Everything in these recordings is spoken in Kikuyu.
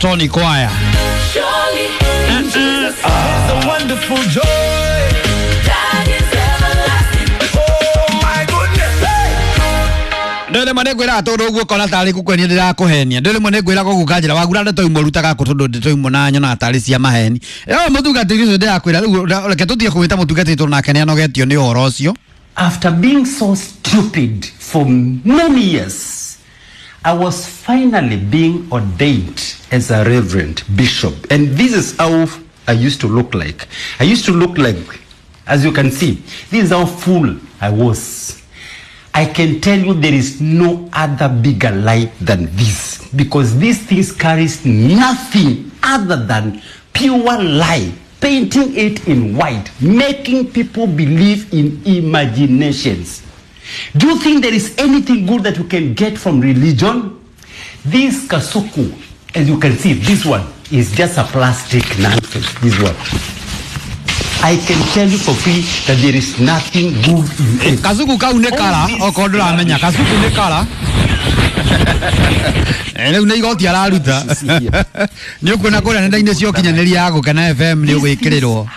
Tony Kwaya. Surely in Jesus There's a wonderful joy. that is everlasting. Oh my goodness. Hey. Ndå rä mwe nä ngwä raga tå ndå guo kona tarä kå ndä rakå ndå rä mwe nä ngwä raga gå kanjä ra wagura ndeto imwe rutaga kå tondå ndeto imwe na nyonaga tarä cia maheni ä må tungatä ri å cio ndä rakwä ra rä u reke tå thiä kå wä ta må tungatä tå nake nä anogetio nä å horo å cio. After being so stupid for many years, I was finally being ordained as a reverend bishop. And this is how I used to look like. I used to look like, as you can see, this is how full I was. I can tell you there is no other bigger lie than this, because these things carries nothing other than pure lie, painting it in white, making people believe in imaginations. Do you think there is anything good that you can get from religion? This kasuku, as you can see, this one is just a plastic nonsense, this one. I can tell you for free that there is nothing good in it. Kazuku kau nä kara okorwo ndå ramenya kazuku nä kara rä u nä igoti araruta nä å kuona kå rä a nenda-inä cia å ya gå kena FM nä å gwä kä rä rwo.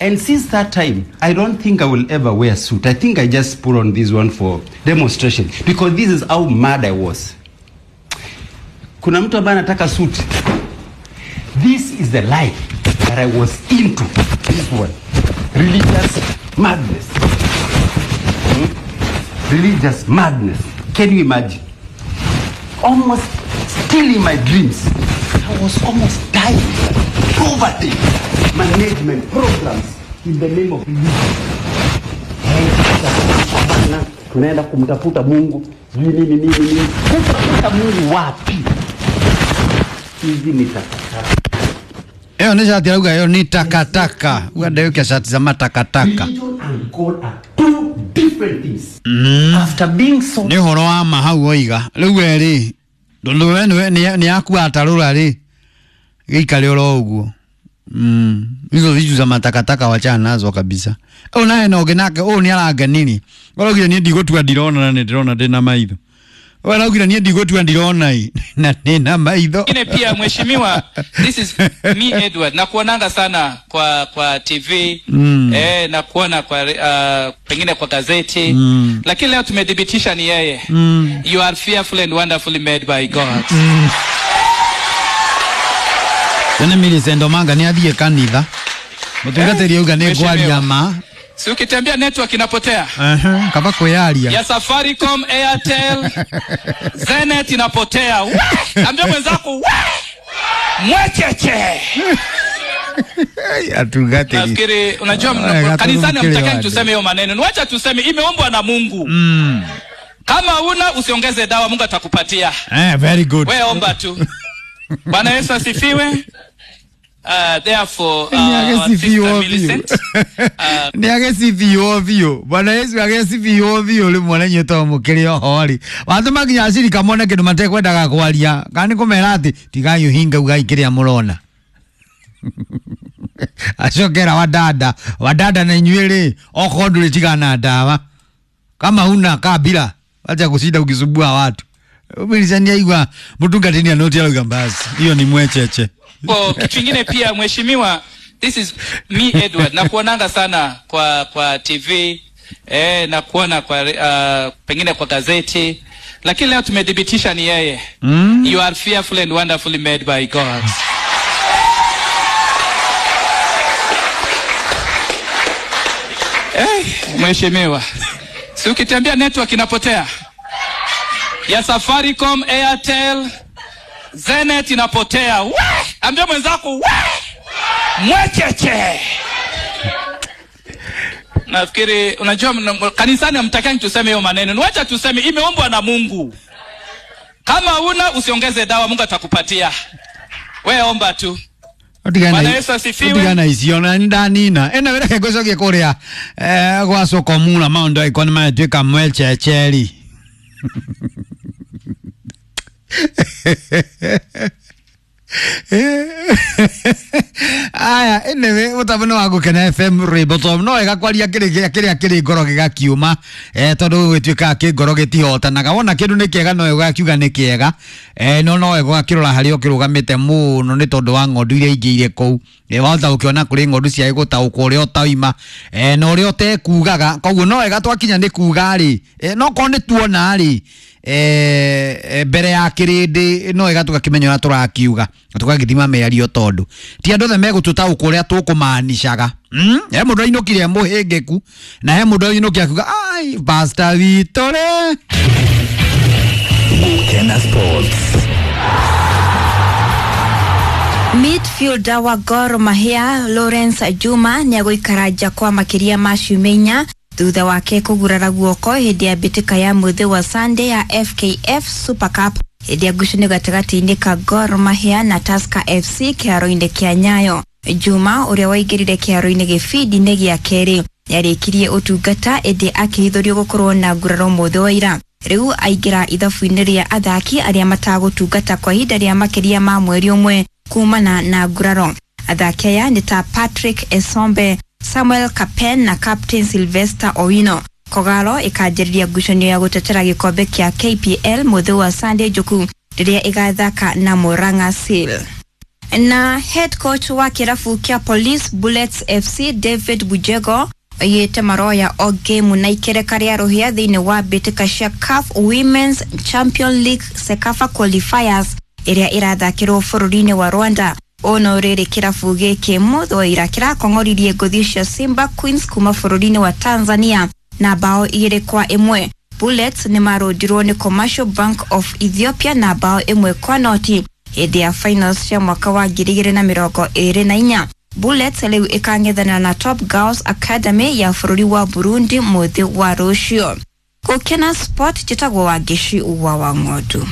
And since that time, I don't think I will ever wear a suit. I think I just put on this one for demonstration because this is how mad I was. Kuna mtu ambaye anataka suit. This is the life that I was into. This one. Religious madness. Hmm? Religious madness. Can you imagine? Almost still in my dreams. I was almost dying. Poverty. Management programs in the name of religion. Hey, sasa tunaenda kumtafuta Mungu. Sijui nini nini nini. Kutafuta Mungu wapi? Hizi ni takataka. ä yo nä cati arauga ä yo nä takataka uga ndä kä cati cia matakataka. Religion and God are two different things. After being so nä å horo wa ma hau oiga rä u werä tondå we nä akua atarå ra rä gä ikare oro å guo hizo vitu za matakataka wachana nazo kabisa. Ũyũ naye na ũngĩ nake ũyũ nĩ arangeniri araugire niĩ ndigũtua ndirona na nĩ ndĩrona ndĩna maitho. Ũyũ araugire niĩ ndigũtua ndirona ĩ na ndĩna maitho. Ingine pia mheshimiwa, this is me Edward, nakuonanga sana kwa TV na kuona kwa pengine kwa gazeti lakini leo tumedhibitisha ni yeye. You are fearfully and wonderfully made by God. Tene Millicent Omanga nĩ athiĩ kanitha mũtungatĩri auga nĩ ngwaria ma. Si ukitembea network inapotea. Kaba kwĩyaria ya Safaricom, Airtel, Zenet inapotea. We! Ambia mwenzako we! Mwecheche. Atungatĩri. Nafikiri unajua kanisani hamtakani tuseme hiyo maneno. Wacha tuseme imeombwa na Mungu. Kama una usiongeze dawa, Mungu atakupatia. Very good. Wewe omba tu. Bwana Yesu asifiwe. Therefore, our sister Millicent, nä agäcibio biå Bwana Yesu agäcibio biå rä mwe na to må kä rä oho rä watå makinya acirika mone kä ndå matekwendaga kwaria kana nä kå mera atä tigai å hinga ugai kä rä a må rona acokera wadada wadada na inyuä rä okorwo ndå rä tigana ndawa kama huna kabila wacha kushinda ukisumbua watu. Millicent aigua mũtungatĩri anoti arauga basi hiyo ni mwecheche. Kwa kitu kingine pia mheshimiwa, this is me Edward, nakuonanga sana kwa TV na kuona kwa pengine kwa gazeti lakini leo tumedhibitisha ni yeye. You are fearfully and wonderfully made by God. Mheshimiwa, si ukitembea network inapotea ya Safaricom, Airtel, Zenet inapotea. We! Ambia mwenzako we! Mwecheche. Nafikiri unajua kanisani hamtakani tuseme hiyo maneno. Wacha tuseme imeombwa na Mungu. Kama una usiongeze dawa, Mungu atakupatia. Wewe omba tu. Bwana Yesu asifiwe. Otigana icio na ndanina ena wera ngũcokie kũrĩa gwa Sokomura maũndũ angĩkorwo nĩ maratuĩka mwechecheri. Aya, anyway, mutambo nĩ wa Gũkena FM rwĩmbo to no wega kwaria kĩrĩa kĩrĩa kĩrĩ ngoro gĩgakiuma, tondũ gũgĩtuĩkaga kĩ ngoro gĩtihotanaga. Wona kĩndũ nĩ kĩega no wega ũgakiuga nĩ kĩega, no no wega ũgakĩrora harĩa ũkĩrũgamĩte mũno nĩ tondũ wa ng'ondu iria ingĩ irĩ kũu. Wahota gũkĩona kũrĩ ng'ondu cia gũtaũkwo ũrĩa ũtaima, na ũrĩa ũtekugaga. Koguo no wega twakinya nĩ kuga rĩ, no korwo nĩ tuona rĩ, mbere ya kĩrĩndĩ no wega tũgakĩmenya ũrĩa tũrakiuga na tũgagĩthima mĩario tondũ ti andũ othe megũtũtaũkwo ũrĩa tũkũmanicaga. He mũndũ ainũkire e mũhĩngĩku na he mũndũ ainũkire akiuga ai pastor witũ rĩ. Gukena Sports. Midfielder wa Gor Mahia Lawrence Juma nĩegũikara nja kwa makĩria ma ciumia 4 thutha wake kũgurara guoko hĩndĩ ya mbĩtĩka ya mũthĩ wa Sunday ya FKF Super Cup hĩndĩ ya ngucanio gatagatĩ-inĩ ka Gor Mahia na Tusker FC kĩharo-inĩ kĩa Nyayo. Juma ũrĩa waingĩrire kĩharo-inĩ gĩbindi-inĩ gĩa kerĩ nĩarĩkirie ũtungata ĩndĩ akĩhithũrio gũkorwo na nguraro mũthĩ wa ira. Rĩu aingĩra ithabu-inĩ rĩa athaki arĩa matagũtungata kwa ihinda rĩa makĩria ma mweri ũmwe kumana na nguraro. Athaki aya nĩ ta Patrick Esombe, Samuel Kapen na Captain Sylvester Owino. Kogalo ĩkanjĩrĩria ngucanio ya gũtetera gĩkombe kĩa KPL mũthĩ wa Sunday Njuku rĩrĩa ĩgathaka na Murang'a Seal. Na head coach wa kĩrabu kĩa Police Bullets FC David Bujego oigĩte maroya o game na ikereka rĩa rũhĩa thĩinĩ wa mbĩtĩka cia CAF Women's Champion League CECAFA qualifiers ĩrĩa ĩrathakĩrwo bũrũri-inĩ wa Rwanda. Ũũ no rĩrĩ kĩrabu gĩkĩ mũthĩ wa ira kĩrakong'oririe ngũthi cia Simba Queens kuma bũrũri-inĩ wa Tanzania na bao 2-1. Bullets nĩmarũndirwo nĩ Commercial Bank of Ethiopia na bao 1-0 hĩndĩ ya finals cia mwaka wa 2024. Bullets rĩu ĩkang'ethanĩra na Top Girls Academy ya bũrũri wa Burundi mũthĩ wa rũciũ. Gũkena Sport, njĩtagwo Wangeci wa Wang'ondu.